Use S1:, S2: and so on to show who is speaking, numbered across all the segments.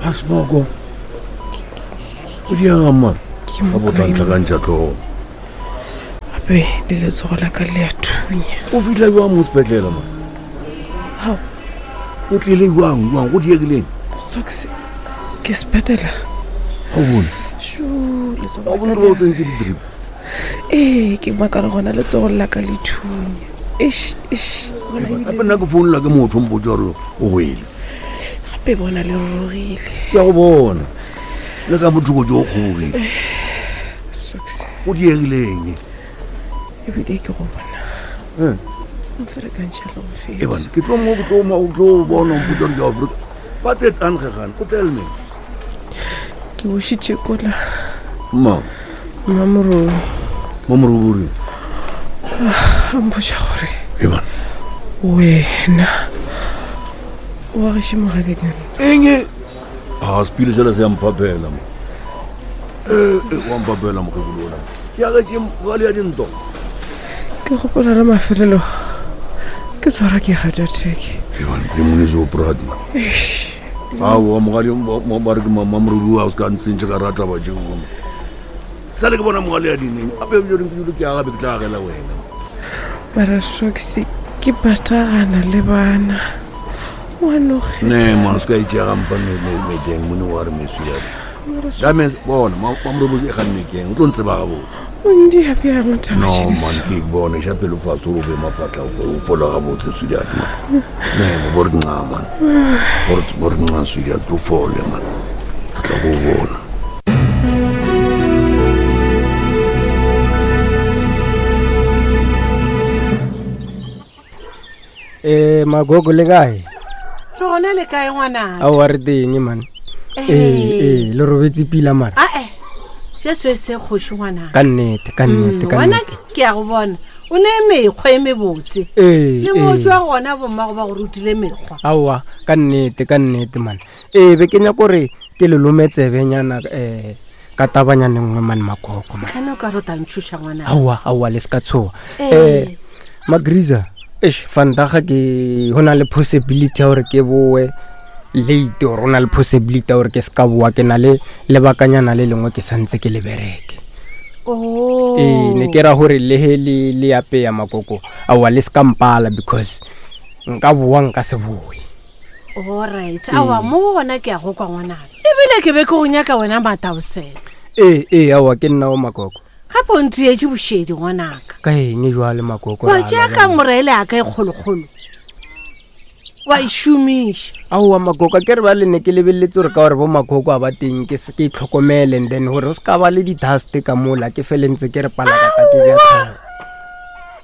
S1: Pasmoko. O diega man.
S2: Ke mo
S1: Ka
S2: kae
S1: botla ntlhakantšha tlhogo.
S2: Gape le letsogo la ka le a thunya.
S1: O fihla jwang mo sepetlele man?
S2: Hao,
S1: O tlile jwang jwang go diegileng?
S2: Socks ke sepetela.
S1: Ga o bone.
S2: Shu, letsogo
S1: Ga o
S2: la
S1: bone
S2: ka
S1: gore ba o
S2: le a-
S1: tsentse di-drip.
S2: Ee, ke makala gona letsogo la ka le thunya. Eish, eish. Bona ebile-
S1: Gape nna ke founela ke motho o mpotsa gore o wele.
S2: Gape bona le rurugile.
S1: Ke a go bona. Le ka mothoko jo o kgobogile.
S2: Socks
S1: O diegileng.
S2: ebile ke go bona.
S1: Eh.
S2: Mferekantšha le go
S1: E
S2: feta.
S1: bana, ke tlo mo ke tlo mo ke tlo bona o mpotsa gore ke Afrika. Ba te tangegane, o tell me.
S2: Ke bošitše kola
S1: Mma,
S2: mmamoroi
S1: mamorobori.
S2: a mpotša gore
S1: E bana.
S2: wena wa gešo mogadikane
S1: Eng e? A sepile sela se a mphaphela mo. Eh, eh, wa mphaphela mokgekolo ona. Ke a ke mogale ya dinto.
S2: ke gopola la mafelelo ke tshwara ke heart attack
S1: E bana, ke mone se o proud man. Aowa mogale ba re ke mamorobori wa o se ka ntsentše ka rata ba tšeo. Sale ke bona mogale ya dineng. Ape ke ke ke aga be ke tla agela wena.
S2: mara socks ke patagana le bana wa
S1: Ne man, o se ka itšea gampa meteng mone wa re meswi ya. That means bona mamorobori e ganne keng o tlo ntseba gabotse.
S2: ondia bjang taba
S1: No
S2: tše di
S1: man,
S2: so?
S1: ke bone xa pelo fatshe o be mafatla o fola gabotse sweetheart man. Ne, bo re nca man. Bo re nca sweetheart o fole man. Ke tla go bona.
S3: Eh magogo le kae?
S4: Re gona le kae ngwanaka
S3: Aowa re teng man. Eh eh le robetse pila mara.
S4: ae se se se kgoši ngwanaka
S3: Ka nnete ka nnete ka
S4: wena
S3: nnete.
S4: ke a go bona o ne mekgwa e mebotse
S3: Eh
S4: le mo
S3: eh.
S4: tswa gona bommago ba go rutile mekgwa
S3: Aowa ka nnete ka nnete man. Eh be ke nyaka gore ke le lome tsebenyana eh ka tabanyana nngwe man magogo man.
S4: tlhane o ka re o tla ntšhoša ngwanaka
S3: Aowa aowa le se ka tshoga.
S4: Eh.
S3: Eh Magriza eish vandaga ke go na le possibility ya gore ke boe late or go na le possibility ya gore ke se ka boa ke na le lebakanyana le lengwe ke santse ke le bereke.
S4: Oh.
S3: ee ne ke ra gore le he le le apeya makoko aowa le se ka mpala because nka boa nka se boe
S4: Alright, aowa mo go gona ke a go kwa ngwanaka ebile ke be ke go nyaka wena mataosela
S3: ee ee aowa ke nna o makoko
S4: gape o ntietse bošedi ngwanaka
S3: ka eng jwale makoko
S4: wa
S3: ra
S4: tšea
S3: lwa
S4: ka
S3: bjale?
S4: moraele a ka e kgolokgolo wa e šomiša
S3: aowa makoko a ke re ba le ne ke lebeletse gore ka gore bo makoko a ba teng ke se ke itlhokomele and then gore o se ka ba le di-dust ka mola ke felentse ke re palakata ke bja tlhogo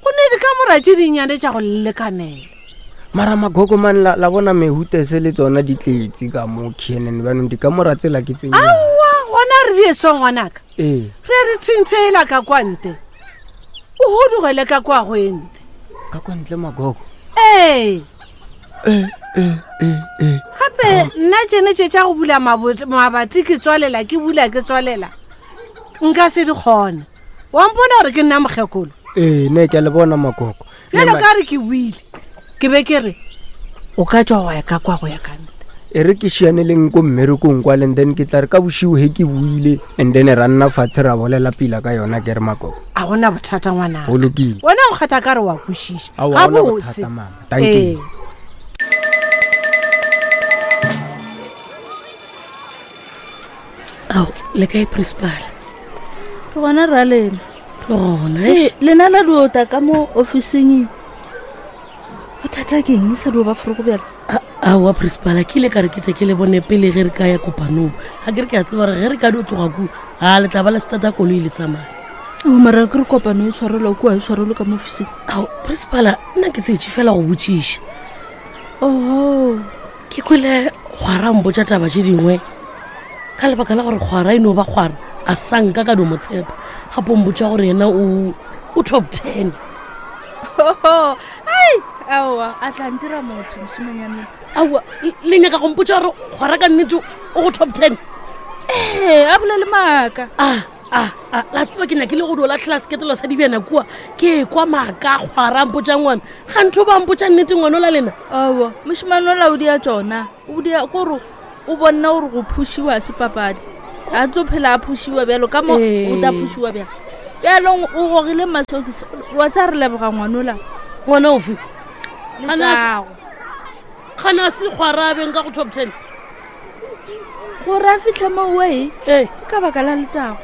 S4: go ne dikamora tše dinnyane tša go lekanela
S3: mara makoko man la, la bona mehutese le tsona di tletse ka mo khnn banong dikamora tsela ke tse nnyane.
S4: aowa gona re di eswa ngwanaka
S3: ee
S4: re re tshwentshela ka kwa nte o godugele ka kwa go e nte
S3: ka kwa ntle makoko
S4: ee
S3: ee ee ee ee
S4: gape nna tšene tše tša go bula mabati ke tswalela ke bula ke tswalela nka se di kgone wa mpona gore ke nna mokgekolo
S3: ee ne ke a le bona makoko Ne
S4: bjalo
S3: ma-
S4: ka re ke buile ke be ke re o ka tswa wa ya ka kwa go ya ka nte
S3: e re ke šianeleng ko mmerekong kwale and then ke tla re ka bošiu he ke buile and then ra nna fatshe ra bolela pila ka yona ke re makoko
S4: a gona bothata ngwanaka
S3: go lokile
S4: wena o kgatha ka re wa kwešiša
S3: Aowa, ha gona
S4: gabotse
S3: bothata, mama. Thank you.
S4: Ee.
S5: Ao, le kae principal?
S6: Ke gona ra lena
S5: Le gona
S6: Ee,
S5: eish.
S6: lena la diota ka mo officing bothata ke eng e sa dio ba forogo bjale
S5: Aowa principal, ke ile ka re ke tle ke le bone pele ge re ka ya kopanong. Ga ke re ke a tseba gore ge re ka dio tloga kua, a le tla ba le starta koloi le tsamaya.
S6: o mara ke re kopano e tshwarelwa kua e tshwarelwe ka mo officing
S5: Ao, principal, nna ke tletše fela go botšiša.
S6: oho
S5: Ke kwele kgwara mpotša taba tše dingwe ka lebaka la gore kgwara e no ba kgwara a sa nka ka dio mo tshepa. Gape o mpotša gore yena o o top 10.
S6: ai aowa a tla ntira motho mošimanyane
S5: Aowa, le nyaka go mpotša gore kgwara ka nnete o go top 10?
S6: ee a bolele maaka
S5: a a a la tseba ke nyakile go dio latlhela seketelo sa dibjana kua ke kwa maaka kgwara mpotša ngwana ga ntho ba mpotša nnete ngwana o la lena
S6: aowa mošimane ola o dia tsona o dia kore o bonna gore go phušiwa se papadi a tlo phela a phušiwa bjalo ka mo o ta phušiwa bjalo bjalong o gogile masokisi wa tsa re leboga ngwanola
S5: ngwana ofe
S6: letago
S5: gana se kgwarabeng ka go top ten
S6: gore a fitlhe mo oe
S5: ee
S6: ka baka la letago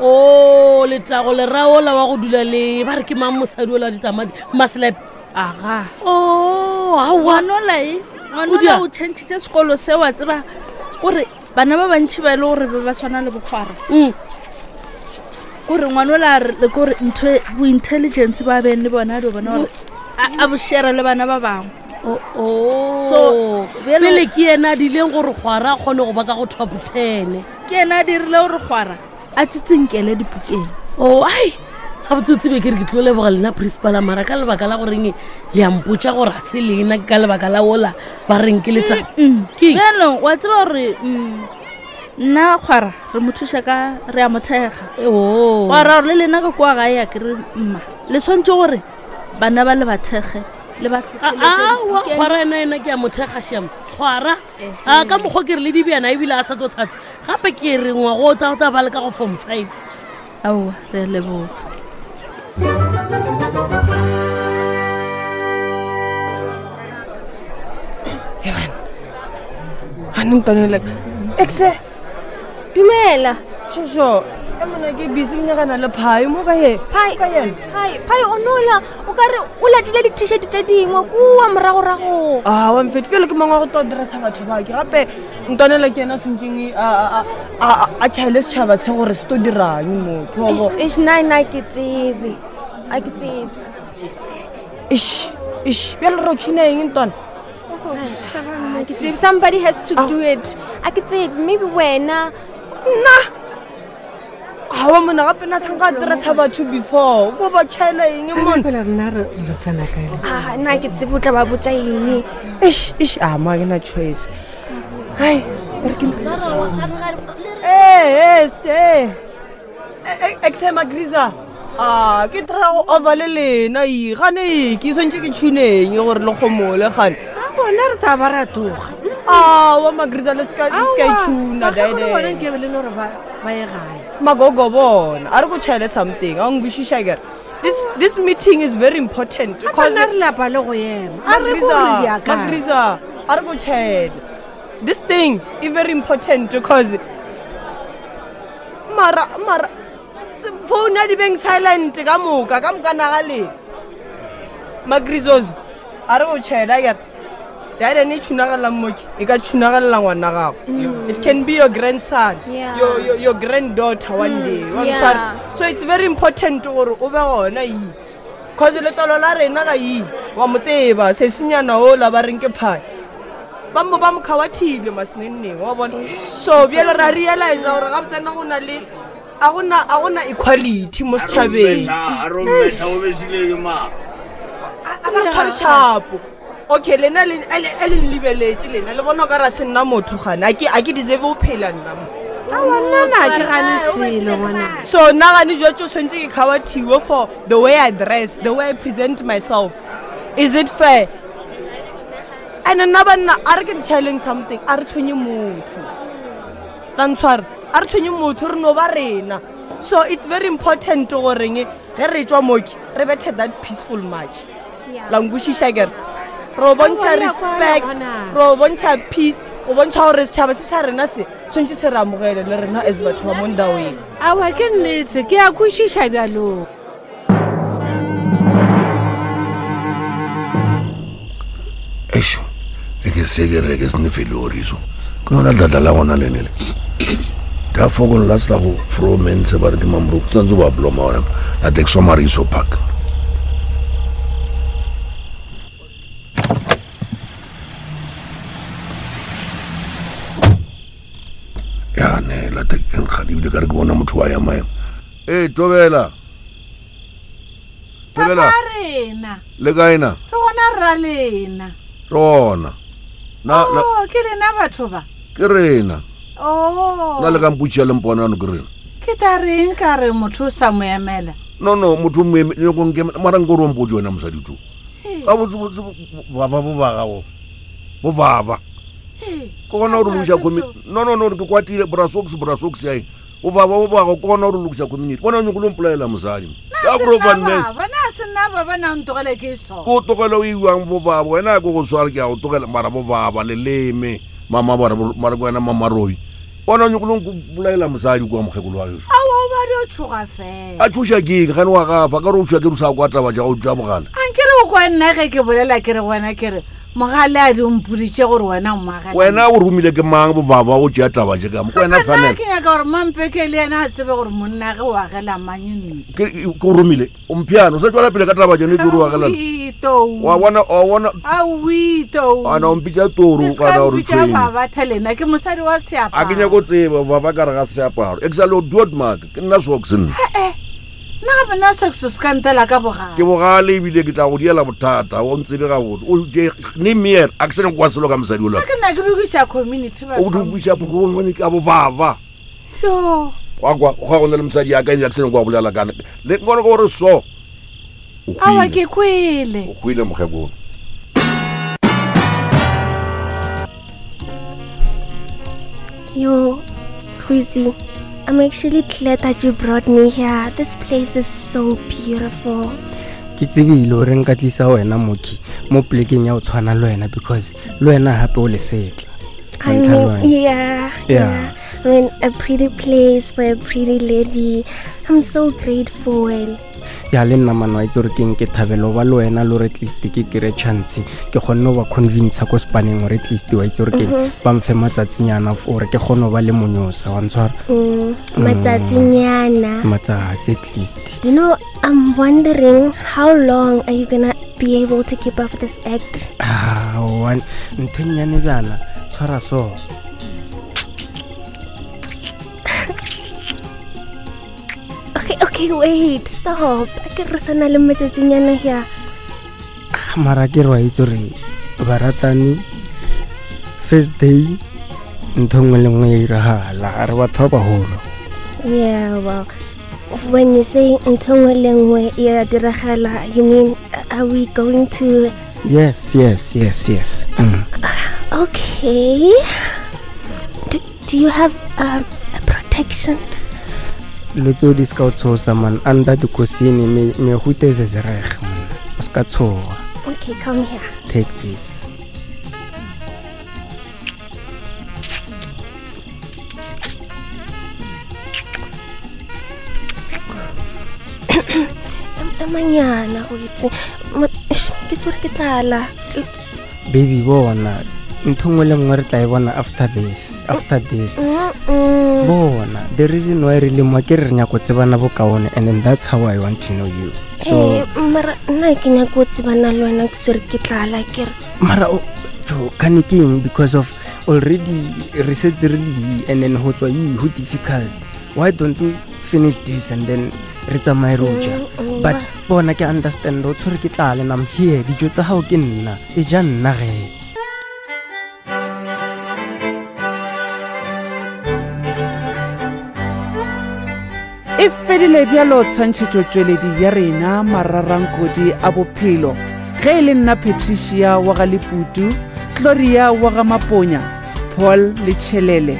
S5: o letago leraola wa go dula le ba re ke mang mosadi ola ditamati maslap
S6: aga
S5: o aowa
S6: ngwanola e ngwanola o changitše sekolo se wa tseba gore bana ba bantšhi ba e le gore be ba tshwana le bokgwara kore ngwanola a re kore ntho e, bo-intelligence ba beng le bona a dio bona gore a bo share le bana ba bangwe
S5: so pele ke yena a dileng gore kgwara a kgone go ba ka go top ten
S6: ke yena a dirile gore kgwara a tsitsinkele dipukeng
S5: o ai gabotsotse be ke re ke tlo leboga lena principala mara ka lebaka la goreng le a mpotsa gore a se lena ke ka lebaka la ola ba reng ke letsa
S6: bjanong wa tseba gore nna kgwara re mo thuša ka re a mo thekga wa ra gore le lena ka kua gae ya ke re mma le tshwanetse gore bana ba le ba thekge le ba
S5: awa kgwara ena ena ke a mo thekga sham kgwara a ka mokgwa ke re le dibjana ebile a sa tlo thatsa gape ke re ngwago o tla o tla ba le ka go form five
S6: aowa re a leboga
S2: Anong Exe.
S7: Dumela.
S2: Shosho. E mona ke busy ke nyakana le phai mo ka ye.
S7: Phai.
S2: Ka yena.
S7: Phai, phai o nola o ka re o latile di-t-shirt tše dingwe kua moragorago.
S2: Ah, wa mfete pele ke mongwe wa go to dressa batho ba ke gape ntwanela ke yena tshwantseng a a a tšhaele setšhaba se gore se to dirang mo. Ke wa bo.
S7: Eish, nna nna ke tsebe. A ke tsebe.
S2: Ish, ish, bjale re tšhina eng ntwana?
S7: A ke tsebe somebody has to do it. A ke tsebe maybe wena.
S2: Nna awa mona gape na sanka dressa batho before ko ba tšhaela eng mona
S4: fela rena re re tsena kae
S7: Ah, nna ke tsebe o tla ba botsa eng.
S2: Eish, eish, a ma ke na choice. Ai, re ke Eh, eh, ste. Exe Magriza. Ah, ke try go over le lena e gane e ke swantse ke tshuneng gore le gomole gane.
S4: A bona re tla ba ra toga.
S2: Ah, wa Magriza le ska le ska itshuna
S4: Aowa, bona
S2: daede.
S4: nke be le no re ba ba ye gae.
S2: Magogo bona, a re go tšhaele something. A ngwishisha kere. This this meeting is very important
S4: Because re lapa le go ema. A re go re ya kae.
S2: Magriza, a re go tšhaele. This thing is very important because mara mara phone ya di beng silent ka moka ka moka naga le magrizos a re o tšhela kere dade ne tšhunagalelang moke e ka tšhunagalela ngwana gago it can be your grandson
S7: Yeah.
S2: your, your, your granddaughter one day wa
S7: yeah.
S2: ntshwara? so it's very important gore o be gona ee cause letlalo la rena ga ee wa mo tseba sesenyana ola ba reng ke phai ba mo ba mo kgawathile masenenneng wa bona so bjale ra realize gore ga botsena go na le a gona a gona equality mo setšhabeng a re tshware shapo okay lena le a le nlebeletše lena le bona o ka ra se nna motho gane a ke a ke deserve go phela nna mo
S4: Aowa, nna na ke gane selo ngwana.
S2: so nna gane jwatse o tshwanetse ke kgawathiwe for the way I dress the way I present myself is it fair and nna banna a re ke re tšhaeleng something a re tshwenye motho la ntshware a re tshwenye motho re no ba rena so it's very important goreng ge re tswa moke re bethe that peaceful march la nkwešiša kere re o bontšha
S4: Aowa, ya
S2: respect
S4: kwana.
S2: re o bontšha peace o bontšha gore setšhaba se sa rena se tshwanetse se re amogele le rena as batho ba mo ndaweng
S4: Aowa ke nnete ke a kwešiša bjalong.
S1: Eish, e ke se ke re ke sene feloriso ke yona dladla la gona lenele ka fokong la sela go fromense ba re ke mamoroko tsantse ba bloma ona la texomariso park ya ne la tek nkgadi ebile ka re ke bona motho wa ya maemo ee tobela tobela
S4: Papa rena.
S1: le kae na
S4: Re gona rra lena.
S1: re gona na na-
S4: Oh, ke lena batho ba.
S1: ke rena
S4: Oh.
S1: na le ka mpotšia le mponano ke rena
S4: Ke ta reng ka re motho o sa mo emela.
S1: no no motho mara nko re ompotse wena mosadi to gabotsebotse baba bo ba gago bo baba Ke gona gore lokiša community. No no no ke kwatile bra socks bra socks ya eng. O baba o bago ke gona gore lokiša community. Bona o nyoko lo mpolaela mosadi. Ka bro van man.
S4: Bana se nna ba ba na ntogele ke so.
S1: Ko tlogela o iwang bo baba wena ke go swara ke a go tlogela mara bo baba leleme mama bara mara ke wena mama robi. Bona o nyoko lo mpolaela mosadi kwa mokgekolo wa geso.
S4: Aowa o ba dio tshoga fela.
S1: A tshoša ke eng gane wa gafa ka re o tshoša ke re o sa kwa taba tša go tša bogale.
S4: Ankere o kwa nna ge ke bolela ke re wena ke re Mogale a di mpoditše gore wena o moagelani.
S1: Wena o romile ke mang bobaba go tšea taba tše ka mo? Ke wena
S4: Gape nna
S1: tshwanelo.
S4: ke nyaka gore Mampeke le yena a tsebe gore monnage o agela mang ntlo.
S1: Ke ke o romile. O mpheane o sa tšwela pele ka taba tšene tše o re o agelana.
S4: Aowi, tou.
S1: Wa bona wa bona
S4: Aowi, tou.
S1: ana o mpitša toro
S4: Le se
S1: kana
S4: ka
S1: o re
S4: mpitša
S1: tšhwene.
S4: baba Thelena, ke mosadi wa
S1: A ke
S4: seaparo.
S1: nyako tseba baba ka re ga seaparo. E ke sa le o duot mark ke nna socks nna.
S4: Eh, nna gape nna sexo se ka ntela ka bogale.
S1: Ke bogale ebile ke tla go diela bothata o ntsebe gabotse. O je ne meer a ke se nyako kwa selo ka mosadi ola.
S4: Nna ke nna ke lokiša community
S1: O
S4: batho.
S1: lokiša community ka bobaba.
S4: Yo.
S1: Wa kwa go go na le mosadi ya ka ene a ke se nyako wa bolela kana. Le nkone gore so. O
S4: Aowa
S1: hwile.
S4: ke kwele.
S1: O hwile mokgekolo.
S7: Yo, Huizi, I'm actually glad that you brought me here. This place is so beautiful.
S3: ke tsebile gore nka tlisa wena moki mo polekeng ya go tshwana le wena because le wena gape o lesetla
S7: I
S3: Wa ntlha le
S7: mean,
S3: wena.
S7: yeah,
S3: Yeah.
S7: I mean, a pretty place for a pretty lady. I'm so grateful.
S3: Ya le nna mano a itse gore keng ke thabelo ba le wena le gore at least ke kry chance ke kgonne go ba convinca ko spaneng gore at least wa itse gore keng ba mfe matsatsinyana gore ke kgone go ba le monyosa wa ntshwara
S7: Matsatsinyana.
S3: matsatsi at least
S7: You know, I'm wondering how long are you gonna be able to keep up this act?
S3: Ah, one ntho e nnyane bjana tshwara so
S7: Okay, okay, wait, stop. A ke re sana le matsatsinyana here.
S3: Ah, mara ke re wa itse gore baratani first day ntho nngwe le nngwe ya iragala re batho ba bagolo
S7: Yeah, well, when you say ntho nngwe le nngwe e a diragala, you mean are we going to
S3: yes yes yes yes mm.
S7: Okay. Do, do you have um, a protection?
S3: Dilo tseo di se ka o tshosa man under dikosini mehuta e zezerege man o se ka tshoga
S7: Okay, come here.
S3: take this
S7: Emanyana go itse. Ma- eish, Ke swere ke tlala.
S3: baby bona ntho nngwe le nngwe re tla e bona after this after this
S7: Mm-mm.
S3: bona the reason why re le mo ke re re nyako tsebana bokaone and then that's how i want to know you so
S7: Eh, mara nna ke nyako go tsebana le wena ke swere ke tlala ke re
S3: mara o jo kane ke eng because of already re setse re le yi and then go tswa yi go difficult why don't we finish this and then re tsamaye re o ja
S7: Mm,
S3: but bona ke understand o tshwere ke tlala and i'm here dijo tsa gago ke nna e ja nna ge
S8: E fedile bjalo tshwantšhetšotšweledi ya rena mararankodi a bophelo ge e le nna Patricia wa ga Leputu, Gloria wa ga Maponya, Paul Letšhelele,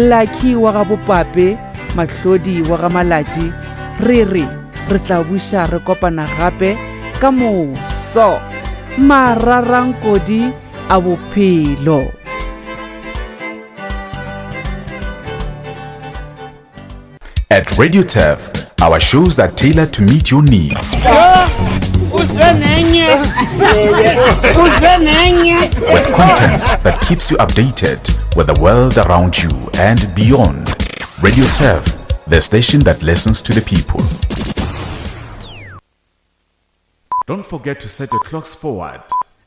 S8: Lucky wa ga Bopape, Mahlodi wa ga Malatši, re re re tla buša re kopana gape ka moso. Mararankodi a bophelo.
S9: At Radio Turf, our shows are tailored to meet your needs. With content that keeps you updated with the world around you and beyond. Radio Turf, the station that listens to the people. Don't forget to set your clocks forward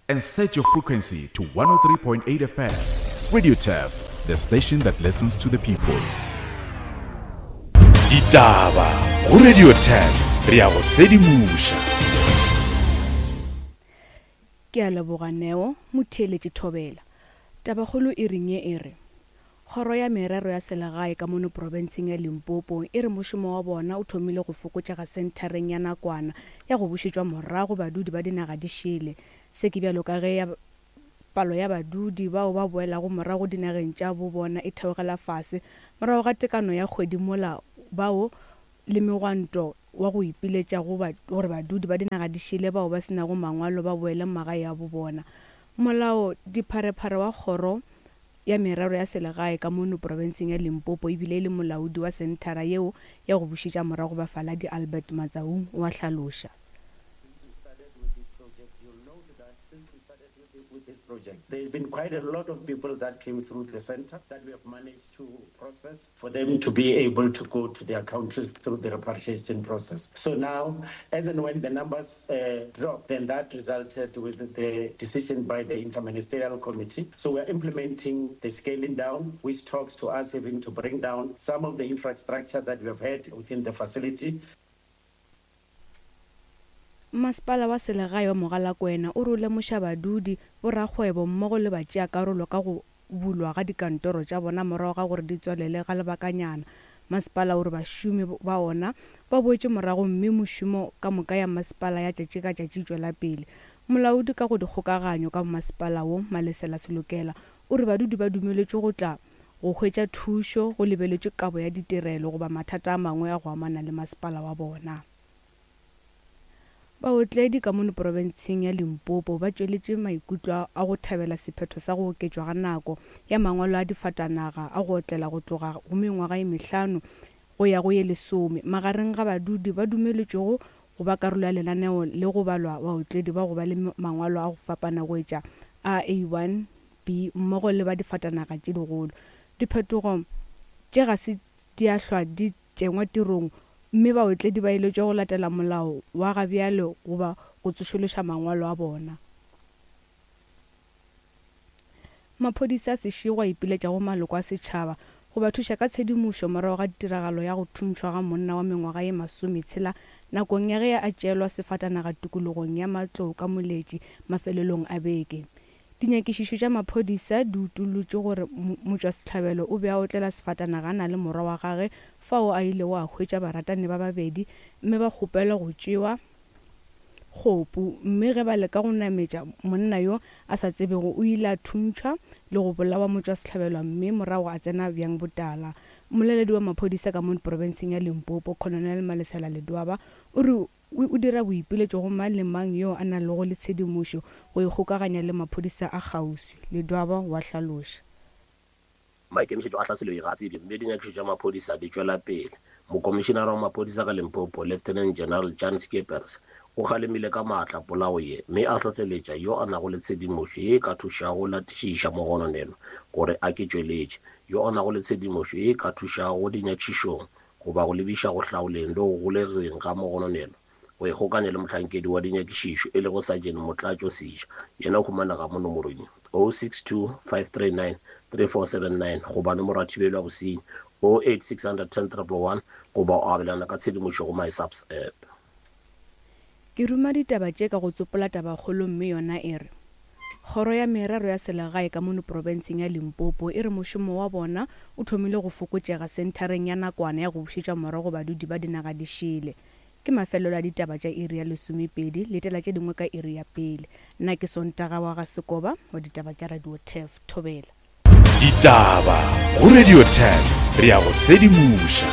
S9: and set your frequency to 103.8 FM. Radio Turf, the station that listens to the people. Ditaba go Radio 10 re a go sedimoša.
S10: Ke a leboga Neo, motheeletši Thobela. Tabakgolo e reng ye e re, Kgoro ya Merero ya Selegae ka mono profenseng ya Limpopo e re mošomo wa bona o thomile go fokotšega senthareng ya nakwana ya go bušetšwa morago badudi ba dinaga di šele. Se ke bjalo ka ge ya palo ya badudi bao ba boelago morago dinageng tša bo bona e theogela fase morago ga tekano ya kgwedi mola bao le megwanto wa go ipiletša go gore badudi ba dinaga di šele bao ba se nago mangwalo ba boele magae a bo bona. Molao dipharephare wa kgoro ya merero ya selegae ka mono profenseng ya Limpopo ebile e le molaodi wa senthara yeo ya go bušetša morago bafaladi Albert Matsaung o a hlaloša.
S11: With this project, there's been quite a lot of people that came through the center that we have managed to process for them to be able to go to their country through the repatriation process. So now, as and when the numbers uh, dropped, then that resulted with the decision by the interministerial committee. So we are implementing the scaling down, which talks to us having to bring down some of the infrastructure that we have had within the facility.
S10: Masepala wa selegae wa Mogalakwena o re o lemoša badudi, borakgwebo mmogo le batšeakarolo ka go bulwa ga dikantoro tša bona morago ga gore di tswalele ga lebakanyana. Masepala o re bašomi ba ona ba boetše morago mme mošomo ka moka ya masepala ya tšatši ka tšatši e tšwela pele. Molaodi ka go dikgokaganyo ka masepala wo, Malesela Selokela, o re badudi ba dumeletšwe go tla go hwetša thušo go lebeletšwe kabo ya ditirelo goba mathata a mangwe a go amana le masepala wa bona. Baotledi ka mono profenseng ya Limpopo ba tšweletše maikutlo a go thabela sephetho sa go oketšwa ga nako ya mangwalo a difatanaga a go otlela go tloga go mengwaga ye mehlano go ya go ye lesome magareng ga badudi ba dumeletšwego go ba karolo ya lenaneo le go balwa baotledi ba go ba le mangwalo a go fapana go etša a A1, B mmogo le ba difatanaga tše digolo. Diphetogo tše ga se di a hlwa di tšengwa tirong mme baotledi ba eletšwa go latela molao wa ga bjale goba go tsošološa mangwalo a bona. Maphodisa a Seshego a ipiletša go maloko a setšhaba go ba thuša ka tshedimošo morago ga tiragalo ya go thuntšhwa ga monna wa mengwaga ye masometshela nakong ya ge a tšeelwa sefatanaga tikologong ya Matlou ka Moletši mafelelong a beke. Dinyakišišo tša maphodisa di utollotše gore motšwasehlabelo o be a otlela sefatanaga a na le morwa wa gage fao a ilego a hwetša baratani ba babedi mme ba kgopelwa go tšewa kgopu mme ge ba leka go nametša monna yo a sa tsebego o ile a thuntšhwa le go bolawa motšwasehlabelwa mme morago a tsena bjang botala. Mmoleledi wa maphodisa ka mo profenseng ya Limpopo, Colonel Malesela Ledwaba o re O dira boipiletšo go mang le mang yo a nalego le tshedimošo go ikgokaganya le maphodisa a kgauswi, Ledwaba wa hlaloša.
S12: Maikemišetšo a tlhaselo ye ga a tsebje mme dinyakišišo tša maphodisa di tšwela pele. Mokomišinara wa maphodisa ka Limpopo, Lieutenant General Jan Scheepers, o kgalemile ka maatla polao ye mme a hlohleletša yo a nago le tshedimošo ye e ka thušago go latišiša mogononelwa gore a ke tšweletše. Yo a nago le tshedimošo ye e ka thušago dinyakišišong goba go lebiša go hlaoleng le go golegeng ga mogononelwa, go ikgokanya le mohlankedi wa dinyakišišo e lego Sergeant Motlatšo Seja, yena o humanega mo nomorong ye, 062 539 3479 goba nomoro ya thibelo ya bosenyi, 08 610 111 goba o abelana ka tshedimošo go MySAPS app.
S10: Ke ruma ditaba tše ka go tsopola tabakgolo mme yona e re, Kgoro ya Merero ya Selegae ka mono profenseng ya Limpopo e re mošomo wa bona o thomile go fokotšega senthareng ya nakwana ya go bušetšwa morago badudi ba dinaga di šele. Ke mafelelo a ditaba tša iri ya lesomepedi, letela tše dingwe ka iri ya pele. Nna ke Sontaga wa ga Sekoba wa ditaba tša Radio Turf. Thobela.
S9: Ditaba go Radio Turf, re a go sedimoša.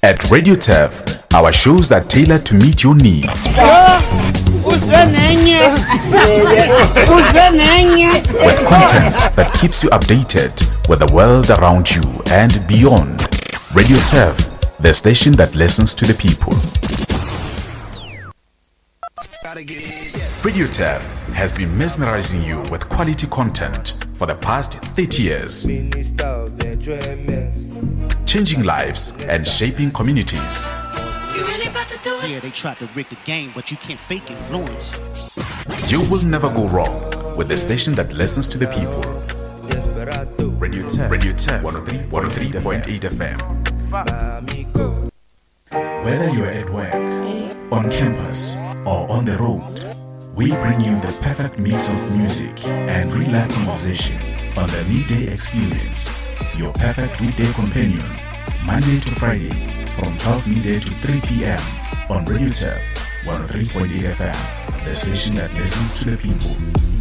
S9: At Radio Turf, our shows are tailored to meet your needs. With content that keeps you updated with the world around you and beyond. Radio Turf, the station that listens to the people. Radio Turf has been mesmerizing you with quality content for the past 30 years. Changing lives and shaping communities.
S13: Yeah, they tried to rig the game, but you can't fake influence.
S9: You will never go wrong with the station that listens to the people. Radio 10, Radio 10, 103.8 FM. Whether you're at work, on campus, or on the road, we bring you the perfect mix of music and real life conversation on the Midday Experience, your perfect weekday companion, Monday to Friday from 12 midday to 3 p.m. on Radio Turf 103.8 FM. The station that listens to the people.